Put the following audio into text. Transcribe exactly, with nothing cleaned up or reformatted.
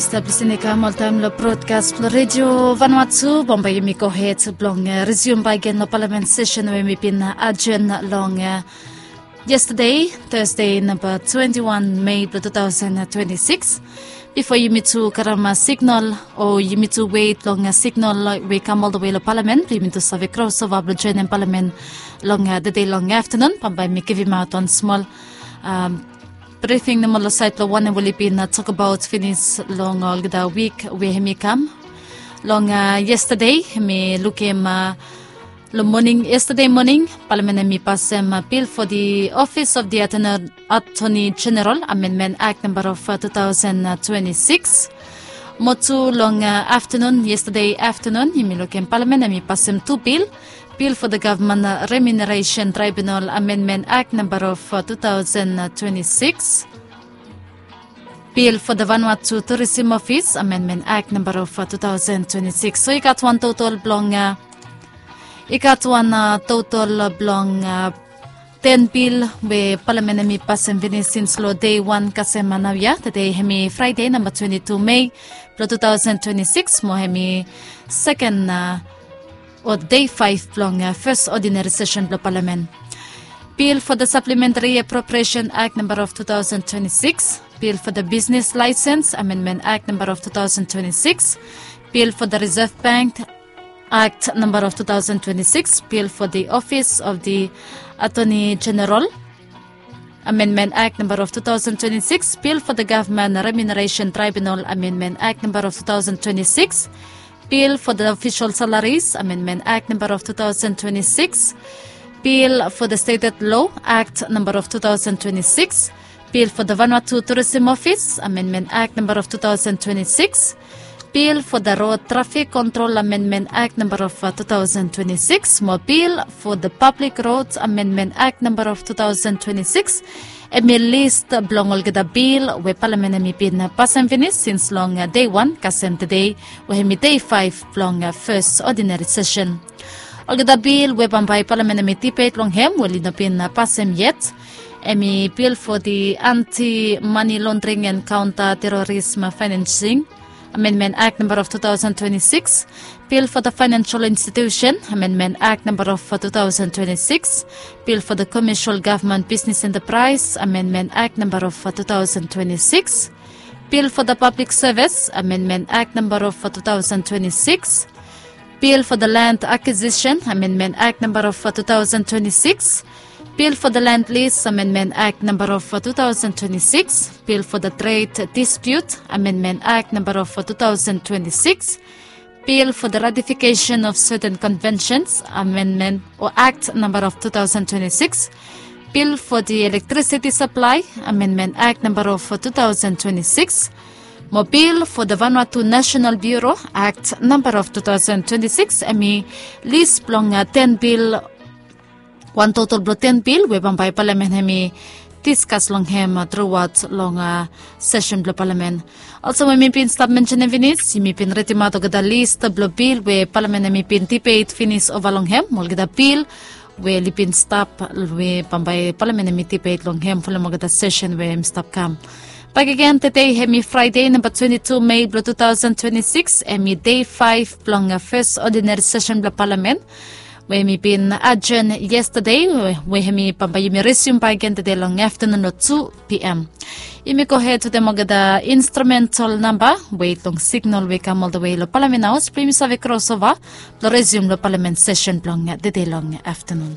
Stap lisin i kam oltaem long brodkas blong redio Vanuatu. Bambae yumi gohed blong rezium bakegen long palamen sesen we mi bin ajen long yestade, Tasde namba twenti wan Mei blong tu taosen twenti sikis. Bifo yumi tu karem signal o yumi tu wet long signal we i kam oltawe long palamen blong yumi tu save krosova blong joenem palamen long tede long aftanun. Bambae mi givimaot wan smol brifing nomo long saed blong wanem we oli bin tokbaot finis long olgeta wik we hem i kam. Long yestade hem i lukim long moning, yestade moning palamen hem i pasem bil fo di ofis of di atoni jeneral amenmen akt namba of tu taosen twenti sikis. Mo tu long aftanun, yestade aftanun yumi lukim palamen hem i pasem tu bil. Bil fo da gavman remuneresen traibunal amenmen akt namba of tu taosen twenti sikis. Bil fo da Vanuatu Turisim Ofis amenmen akt namba of tu taosen twenti sikis. So i gat wan totol blong i gat wan totol blong ten bil we palamen hem i pasem finis sins long dei wan kasem naoia. Tede hem i Fraede namba twenti tu Mei blong tu taosen twenti sikis mo hem i seken o dei faef blong fes odinari sesen blong palamen. Bil fo da saplementari apropriesen akt namba of tu taosen twenti sikis. Bil fo da bisnes laesens amenmen akt namba of tu taosen twenti sikis. Bil fo da Risev Bank akt namba of tu taosen twenti sikis. Bil fo da ofis of di atoni jeneral amenmen akt namba of tu taosen twenti sikis. Bil fo da gavman remuneresen traibunal amenmen akt namba of tu taosen twenti sikis. Bil fo da ofisol salaris amenmen akt namba of tu taosen twenti sikis. Bil fo da stetet lo akt namba of tu taosen twenti sikis. Bil fo da Vanuatu Turisim Ofis amenmen akt namba of tu taosen twenti sikis. Bil fo da rod trafik kontrol amenmen akt namba of tu taosen twenti sikis mo bil fo da pablik rod amenmen akt namba of tu taosen twenti sikis. Hem i lis blong olgeta bil we palamen hem i bin pasem finis sins long dei wan kasem tede we hem i dei faef blong fes odinari sesen. Olgeta bil we bambae palamen hem i dibet long hem we oli no bin pasem yet. Hem i bil fo di anti mani londring en kaonta terorism faenensing amenmen akt namba of tu taosen twenti sikis. Bil fo da faenensol institusen amenmen akt namba of tu taosen twenti sikis. Bil fo da komesol gavman bisnes entapraes amenmen akt namba of tu taosen twenti sikis. Bil fo da pablik sevis amenmen akt namba of tu taosen twenti sikis. Bil fo da land akwisisen amenmen akt namba of tu taosen twenti sikis. Bil fo da land lis amenmen akt namba of tu taosen twenti sikis. Bil fo da tred disput amenmen akt namba of tu taosen twenti sikis. Bil fo da ratifikesen of seten konvensens amenmen o akt namba of tu taosen twenti sikis. Bil fo di elektrisiti saplae amenmen akt namba of tu taosen twenti sikis. Mo bil fo da Vanuatu Nasenal Biuro akt namba of tu taosen twenti sikis hem i lis blong ten bil, wan totol blong ten bil we bambae palamen hem i diskas long hem truaot long sesen blong palamen. Olsem we mi bin stap mensenem finis yumi bin ridimaot olgeta lis blong bil we palamen hem i bin dibet finis ova long hem, olgeta bil we oli bin stap we bambae palamen hem i dibet long hem folem olgeta sesen we hem i stap kam. Bakegen tede hem i Fraede namba twenti tu Mei blong tu taosen twenti sikis, hem i dei faef blong fes odinari sesen blong palamen we hem i bin ajen yestade we hem i bambae yumi resium bakegen tede long aftanun long tu pm. Yumi gohed wetem olgeta instrumental namba we long signal we i kam oltawe long palamen haos blong yumi save krosova blong resium long palamen sesen blong tede long aftanun.